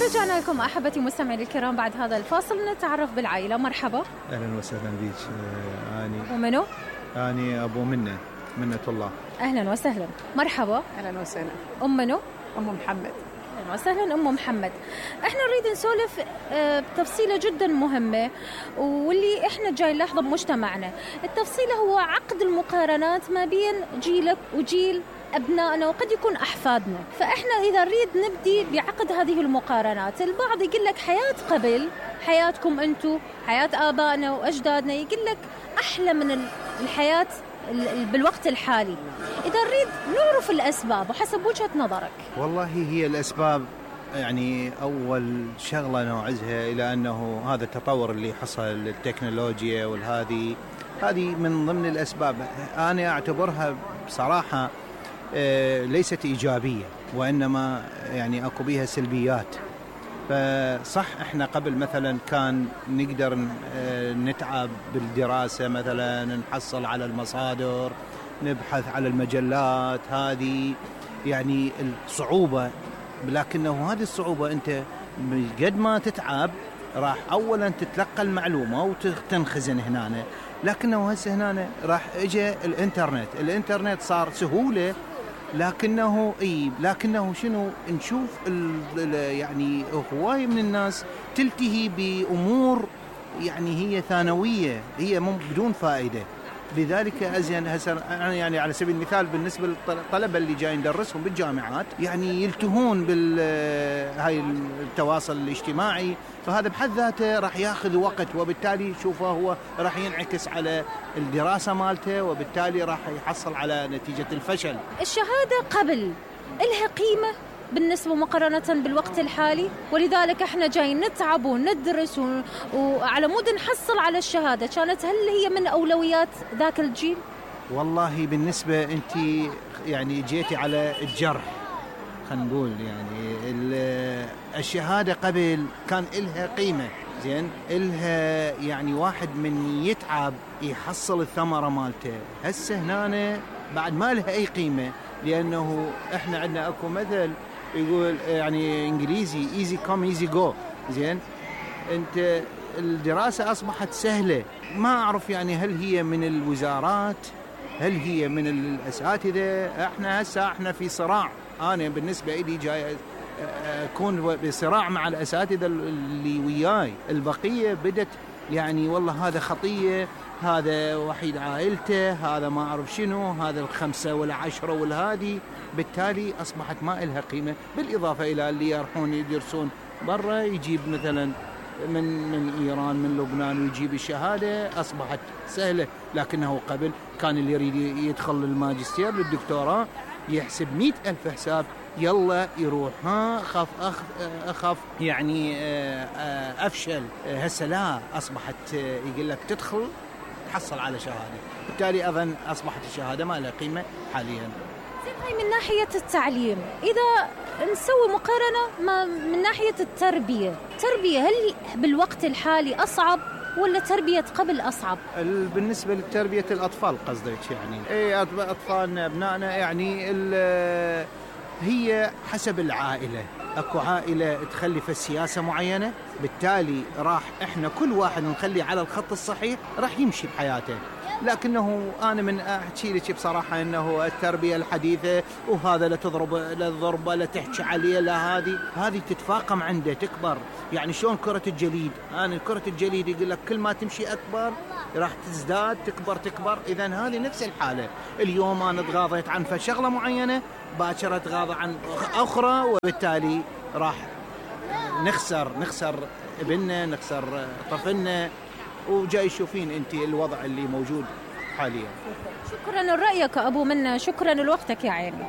ورجعنا لكم أحبتي مستمعي الكرام بعد هذا الفاصل. نتعرف بالعائلة. مرحبا. أهلا وسهلا بيك. ومنو؟ أنا أبو منة الله. أهلا وسهلا. مرحبا. أهلا وسهلا. منو؟ محمد. أهلا وسهلا محمد. احنا نريد نسولف بتفصيلة جدا مهمة واللي احنا جاي نلاحظه بمجتمعنا. التفصيلة هو عقد المقارنات ما بين جيلك وجيل أبنائنا وقد يكون أحفادنا. فإحنا إذا نريد نبدي بعقد هذه المقارنات، البعض يقول لك حياة قبل، حياتكم أنتو، حياة آبائنا وأجدادنا، يقول لك أحلى من الحياة بالوقت الحالي. إذا نريد نعرف الأسباب وحسب وجهة نظرك. والله هي الأسباب يعني أول شغلة نوعزها إلى أنه هذا التطور اللي حصل التكنولوجيا هذه من ضمن الأسباب. أنا أعتبرها بصراحة ليست إيجابية، وإنما يعني أكو بيها سلبيات. فصح إحنا قبل مثلا كان نقدر نتعب بالدراسة، مثلا نحصل على المصادر، نبحث على المجلات، هذه يعني الصعوبة. لكنه هذه الصعوبة أنت قد ما تتعب راح أولا تتلقى المعلومة وتنخزن هنا، لكنه هسه هنا راح اجى الانترنت صار سهولة. لكنه شنو نشوف يعني هواية من الناس تلتهي بأمور يعني هي ثانوية، هي بدون فائدة. لذلك أزين يعني على سبيل المثال بالنسبة للطلبة اللي جايين ندرسهم بالجامعات، يعني يلتهون هاي التواصل الاجتماعي، فهذا بحد ذاته راح ياخذ وقت، وبالتالي شوفه هو راح ينعكس على الدراسة مالته، وبالتالي راح يحصل على نتيجة الفشل. الشهادة قبل إلها قيمة بالنسبة مقارنة بالوقت الحالي، ولذلك احنا جايين نتعب وندرس وعلى مود نحصل على الشهادة. هل هي من أولويات ذاك الجيل؟ والله بالنسبة أنت يعني جيتي على الجرح، خلينا نقول يعني الشهادة قبل كان إلها قيمة، زين إلها يعني واحد من يتعب يحصل الثمرة مالته. هسه هنا بعد ما لها أي قيمة، لأنه إحنا عندنا أكو مثل يقول يعني إنجليزي easy come easy go. زين أنت الدراسة أصبحت سهلة، ما أعرف يعني هل هي من الوزارات، هل هي من الأساتذة. إحنا في صراع. أنا بالنسبة إلي جاي أكون بصراع مع الأساتذة اللي وياي. البقية بدت يعني والله هذا خطية، هذا وحيد عائلته، هذا ما أعرف شنو، هذا الخمسة والعشرة والهادي. بالتالي أصبحت ما إلها قيمة. بالإضافة إلى اللي يروحون يدرسون برا، يجيب مثلا من إيران، من لبنان، ويجيب الشهادة، أصبحت سهلة. لكنه قبل كان اللي يريد يدخل الماجستير للدكتوراه يحسب 100,000 حساب، يلا يروح أخاف يعني أفشل. هسه لا، أصبحت يقول لك تدخل تحصل على شهادة، بالتالي أظن أصبحت الشهادة ما لها قيمة حاليا. من ناحية التعليم، إذا نسوي مقارنة من ناحية التربية، هل بالوقت الحالي أصعب ولا تربية قبل أصعب؟ بالنسبة لتربية الأطفال قصدك يعني؟ أطفالنا أبنائنا يعني هي حسب العائلة. أكو عائلة تخلي في السياسة معينة، بالتالي راح إحنا كل واحد نخلي على الخط الصحيح راح يمشي بحياته. لكنه أنا من أحكي لك بصراحة أنه التربية الحديثة، وهذا لا تضرب لا تحكي عليه، لا هذه تتفاقم عنده تكبر. يعني شلون كرة الجليد، كرة الجليد يقول لك كل ما تمشي أكبر راح تزداد تكبر. إذن هذه نفس الحالة. اليوم أنا تغاضيت عن شغلة معينة، باكر تغاضى عن أخرى، وبالتالي راح نخسر ابننا، نخسر طفلنا. وجاي تشوفين انت الوضع اللي موجود حاليا. شكرا لرأيك أبو منة، شكرا لوقتك يا عيني.